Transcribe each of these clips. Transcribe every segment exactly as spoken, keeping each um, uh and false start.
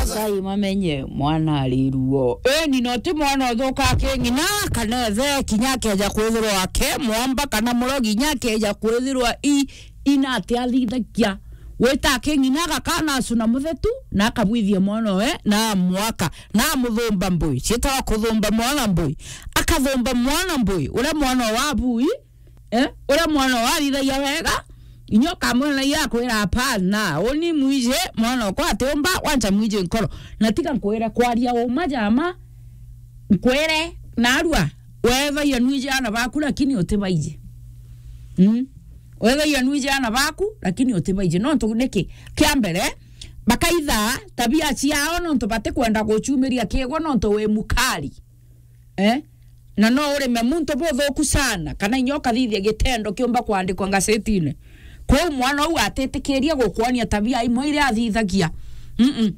Ngai mamenye mwana ari ruo. Eni no ti mwana uthuka aking'ina, kana ethe kinya akeja kwithirwa ake mwamba, kana murogi kinya akeja kwithirwa i, ina ati athithagia. Wita aking'ina agakana acuna muthetu, na akabwithia mwana we, na amwaka, na amuthumba mbui. Cietagwa kuthumba mwana mbui. Akathumba mwana mbui, uria mwana wa bui, eh, uria mwana wathithagia wega, inya ukamwira na iya akwira, "Hapana, uni mwiji mwana okwa atiumba, wancha mwiji nkoro." Na tiga nkwire kwaria uma jama, nkwire, narua, wethagia nwiji ana baku, lakini utibaiji. Mm? Wethagia nwiji ana baku, lakini utibaiji. Nontu niki? Kia mbere, bakaitha tabia ciao nontu batikwenda guchumiria kiegwa nontu wi mukari. Eh? Na no urime muntu buthuku sana, kana inya ukathithia gitendo kiumba kwandikwa ngasetine. Kwou mwana uu atitikiria gukwonia tabia imwe iria athithagia. Mm-mm.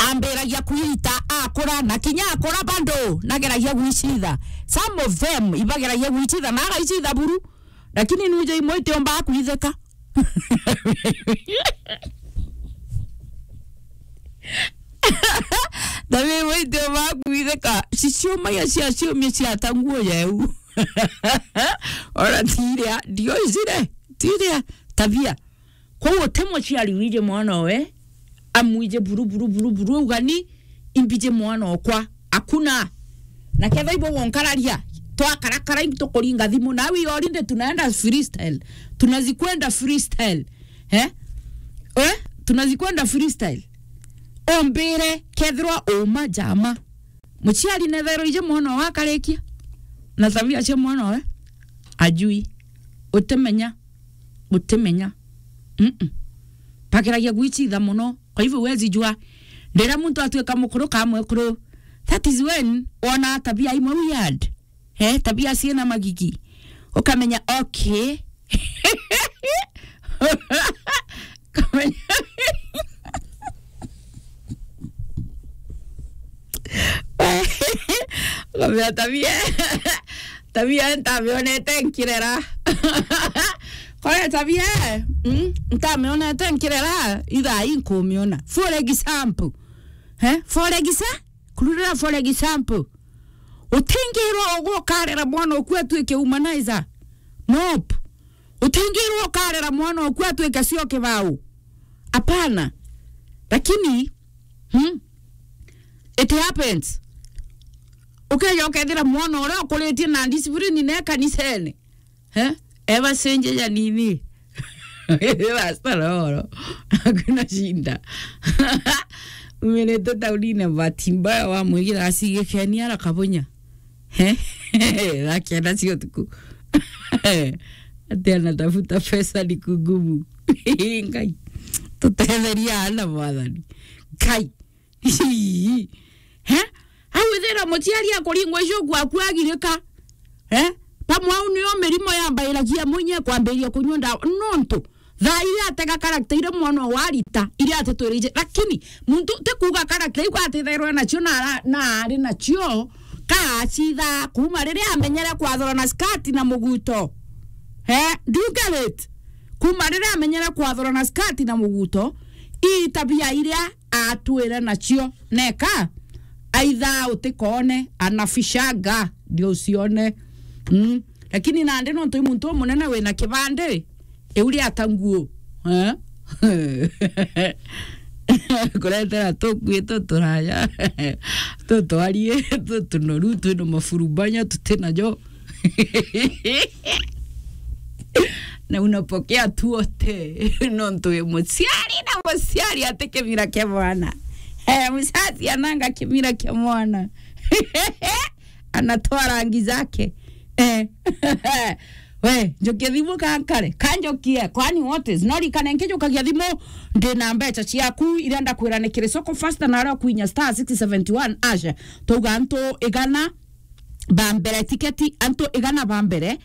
Ambiragia kwita akura, na kinya akura bado nageragia gwicitha. Some of them ibageragia gwicitha, na agaicitha buru. Lakini nuje imwe itiumba kwithika. Tabia imwe itiumba kwithika. Ciciumagia cia ciumia ciata nguo yeu. Ora tiria, ndio izire, tiria tabia. Kwou uti muciari wiji mwana owe, amwije buru, buru, buru, buru, ugani, imbije mwana okwa. Hakuna. Na ketha ibo wonkararia, twakarakara into kuringa thimu. Na we already tunaenda freestyle. Tunazikwenda freestyle. Eh? Eh? Tunazikwenda freestyle. Ombire kethirwa uma jama. Muciari nethero ije mwana owe akarikia. Na tabia cia mwana owe. Ajui. Utimenya. Utimenya. Mm-mm. Bageragia gwicitha muno. Kwa hivyo huwezi jua. Ndira muntu atuika mukuru ka mwekuru. That is when wona tabia imwe weird. Eh, tabia ciina magigi. Ukamenya, okay. Ukamenya. Ukamenya tabia. Tabia ntamionete nkirera. Kore tabia, mm, ntamionete nkirera, ithaa ii nkumiona. For example, eh, for exa-, kururira for example, utingirwa ugwe ukarera mwana oku atuike humanizer. Nope. Utingirwa ukarera mwana oku atuike cio kibau. Hapana. Lakini, hmm, it happens. Ukeja ukethira mwana uria ukuritie na discipline ne kanisene. Eh? Eba cenjeja nini? Pastor Loro. Hakuna shida. Umenete taunine, bahati mbaya wamwigira acigikenia arakabonya. Eh? Thaa kenda cia utuku. Ati anatafuta pesa ni kungumu. Ngai. Tutetheria ana mwathani. Ngai. He? Au ithira muciari akuringwa icio gwaku agirika. He? Pamwe au nio mirimo yambairagia mwinyi kwambiria kunyua ndawa. Nontu, thaa iria atega character iria mwana warita, iria atitwirije. Lakini, muntu ti kuuga character iu atithairwe nacio na ara-, na ari nacio, ka acitha kuma riria amenyere kwathura na skati na muguto. He? Do you get it? Kuma riria amenyere kwathura na skati na muguto, ii tabia iria atwire nacio neka, aitha utikoone, anafishanga, ndio usione. Mm. Lakini nandi nontu i muntu umunene wina kibandi, iu riata nguo. Eh? Kuretera tukui tuturaya, tutwarie, tutunoru, twina mafurubanya, tutinajo. Na unapokea tu wote. Nontu wi muciari na muciari ati kimira kia mwana. Eh, mzazi ananga kimira kia mwana. Anatoa rangi zake. Eh. We, njokie thimu kankare. Kanjokie, kwani what is? No rikane nkijukagia thimu, ndina mbeca ciaku, iria ndakwira ni kiri soko fasta na aria kwinya star six seventy one hash. Twauga antu igana ba mbere, tiketi antu igana ba mbere,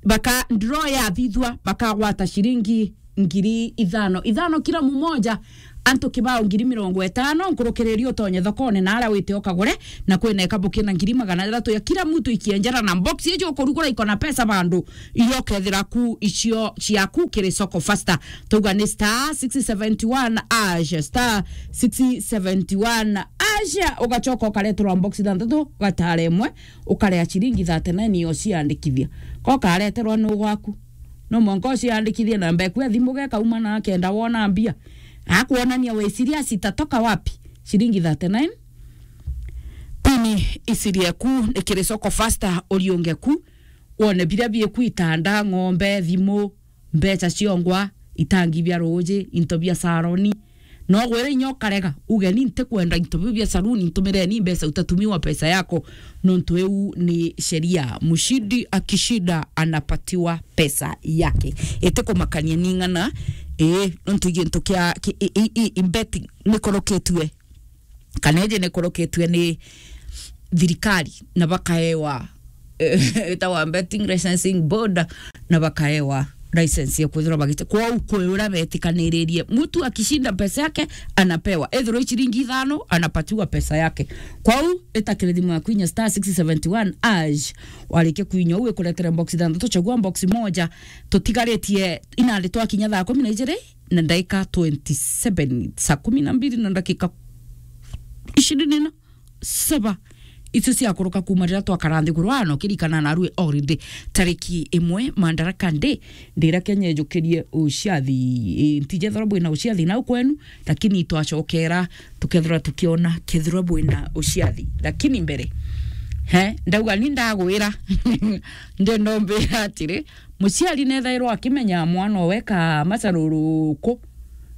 baka draw yathithua, bakagwata ciringi ngiri ithano. Ithano kila mmoja, Antu kibao ngiri mirongo itano, nkurukiriria utonye thokone na aria wite ukagure, na kwina ikabu kina ngiri magana jathatu ya kila mtu ikienjera na box ijo ukurugura iko na pesa bandu, iria ukethira ku icio ciaku kiri soko faster. Tuga ni star six seventy one hash, star six seventy one hash, ugacoka ukareterwa box ithanthatu, ugatara imwe, ukarea ciringi thirty nine iyo ciandikithia. Ko kareterwa nu gwaku. No mwanka uciandikithie namba eku ya thimu gekauma na akenda wona mbia. Akuonania we serious itatoka wapi? Ciringi thirty nine. Pini isiri eku ni kiri soko faster uriunge ku. Wone biria bieku itanda, ng'ombe, thimu, mbeca ciongwa, itangi bia ruuji, into bia saroni. No gwire inya ukarega, uge ni ntikwenda into biu bia saruni, ntumireni mbeca, utatumiwa pesa yako. Nontu iu ni sheria. Mshindi akishinda anapatiwa pesa yake. Itikumakania ni ng'ana, ii, nontu gintu kia, ki-, i, i, i, i betting nikoroketue. Kana iji nikurukitue ni thirikari na bakaewa, itawa Betting Licensing Board, na bakaewa license ya kwithirwa bagite. Kwou kwi uria betikaniririe, mtu akishinda pesa yake anapewa, ethirwa i ciringi ithano anapatiwa pesa yake. Kwou itakire thimu yaku inya star six seventy one hash, warikia kuinya u ikuretere box ithanthatu, chagua box moja. Tutigaritie inandi twakinya thaa kumi na ijiri na ndaika twenty seven, saa kumi na mbiri na ndakika ishirini na saba. Icio ciakuruka kuma riria twakara nthiguru, wana ukirikana narue already tariki imwe Madaraka Day, ndira Kenya ijukirie uciathi. Ii, ntijethirwa bwina uciathi nau kwenu, lakini twacokera tukethirwa tukiona kethirwa bwina uciathi. Lakini mbere, he, ndauga ni ndagwira, ndenda umbira atiri, muciari nethairwa akimenya mwana owe ka macaruruku,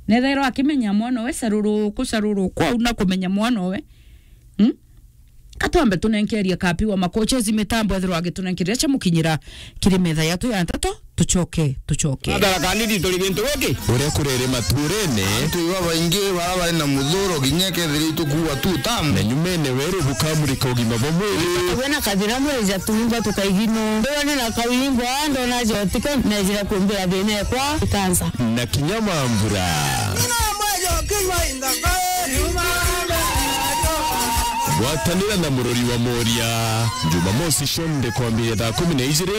nethairwa akimenya mwana owe caruruku, caruruku au na kumenya mwana owe. Hmm? Katwambe tunenkeria kapi wa makochezi mitambo ethirwa agitunenkeria cia mukinyira kiri metha yatu ya nteto, tucoke, tucoke. Madaraka Day turi gintu giki? Uria kurere maturene. Antu babaingi bara bari na muthuro, kinya kethira itukuwa tu tamu. Na nyumene weru bukamurika ugima bwa mwiri. Wena kathira mwija tuumba tukaigino. Ndona na kawimbo, ndona jotika, nejira kumbira thina ekwa ikansa. Na kinya mambura. Gwatanira na murori wa Moria, Jumamosi cionthe kwambiria thaa kumi na ijiri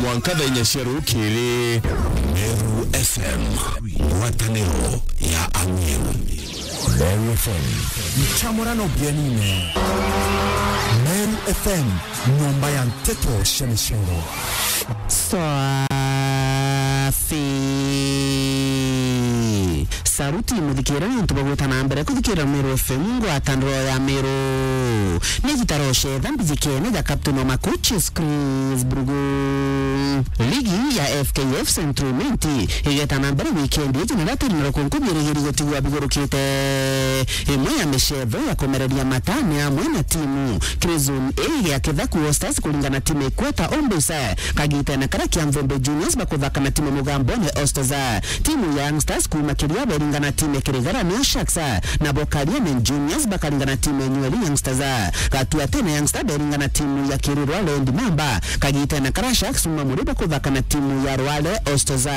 mwanka thaa inya cia rukiri. Meru F M, ngwataniro ya Amiru. Meru F M. Nchamurano bienine. Meru F M, nyomba ya nteto cia micoro. Swafi. Saruti muthikira ni untu bwa gwita na mbere kuthikira Meru F M, ngwataniro ya Meru. Ni gitaro cetha mbijikene ja captain wa makochi Chris Brugu. Ligi ya F K F Central Minti igeta na mbere wikendi iji na ratiri na rukunku bierigiri gutigwa bigurukite. Imwe ya micetho ya kumereria mata ni amwe na timu Crimson A ya Kithaku All Stars kuringana timu ikweta Ombusa. Kagitene karia kia Mvumbi Juniors bakuthaka na timu Mugambone All Stars. Timu ya Youngsters kuuma Kiria beringana timu Kirigara nio Sharks. Nabo Kariene Juniors bakaringana timu Nyueri Youngsters. Gatuatene Youngsters beringana timu ya Kirirwa Land Mamba. Kagitene karia Sharks uma muri bakuthaka na timu ya Rwale All Stars.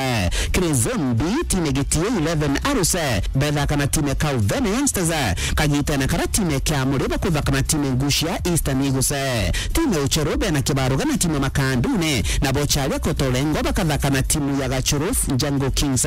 Kiri Zone B, timu Gitio eleven Arrows bethaka na timu Kauvene Youngsters. Kagitene karia timu kia muri bakuthaka na timu Ngucia Eastern Eagles. Timu Uchero bena kibaruga na timu Makandune, nabo Charia Kotolengo bakathaka na timu ya Gachuru Jungle Kings.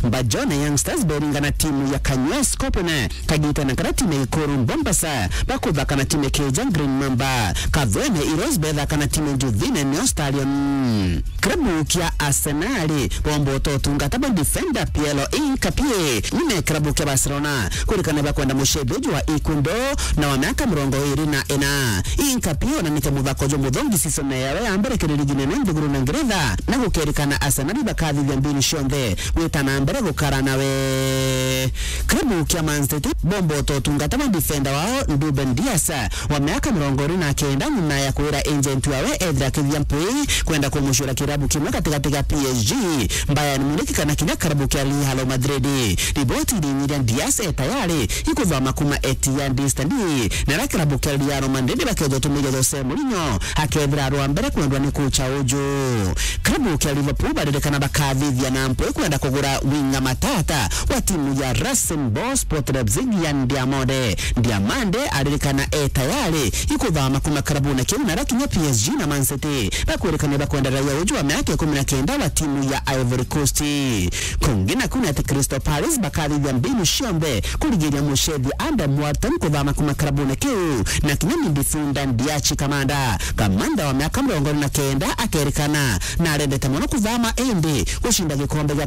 Mbajone Youngsters beringa na timu ya Kanywe Scorpion. Kagitene karia timu Ikuru Bombasa bakuthaka na timu Keja Green Mamba. Kathwene Heroes bethaka na timu Njuthine Neo Stallion. Klabu kia Arsenal bomba utotungata bwa defender Piero Hincapié nyuma ya klabu kia Barcelona kurikana bakwenda mucethi uju wa Ecuador na wa miaka mirongo iri na ina. Hincapié onanite muthako jumuthongi season yawe ya mbere kiri ligi nene nthiguru na Ngeretha, na gukerikana Arsenal bakathithia mbinu cionthe gwita na mbere gukara nawe. Klabu kia Man City bomba utotungata bwa defender wao Ruben Dias wa miaka mirongo iri na kenda nyuma ya kwira agent wawe ethira akithia mpwi kwenda kumucura kirabu kimwe gatigati ga P S G, Bayern Munich kana kinya kirabu kia Real Madrid. Riboti irinyiria Dias e tayari ikuthoma kuma Etihad Stadium, na ria kirabu kia Real Madrid bakethwa tumiria Jose Mourinho akethira arwa mbere kwendwa ni kocha uju. Kirabu kia Liverpool baririkana bakathithia na mpwi kwenda kugura winga matata wa timu ya Rasenball Sport Leipzig ya Ndiamande. Ndiamande aririkana e tayari ikuthama kuma karabune kiu, na arakinya P S G na Man City bakwirikania bakwenda raia uju wa miaka ikumi na kenda wa timu ya Ivory Coast. Kungi naku ni ati Crystal Palace bakathithia mbinu cionthe kurigiria mucethi Adam Wharton kuthama kuma karabune kiu, na kinya midfielder Ndiachi Kamanda, Kamanda wa miaka mirongo iri na kenda akerikana na arendete mono kuthama indi gucinda gikombe gia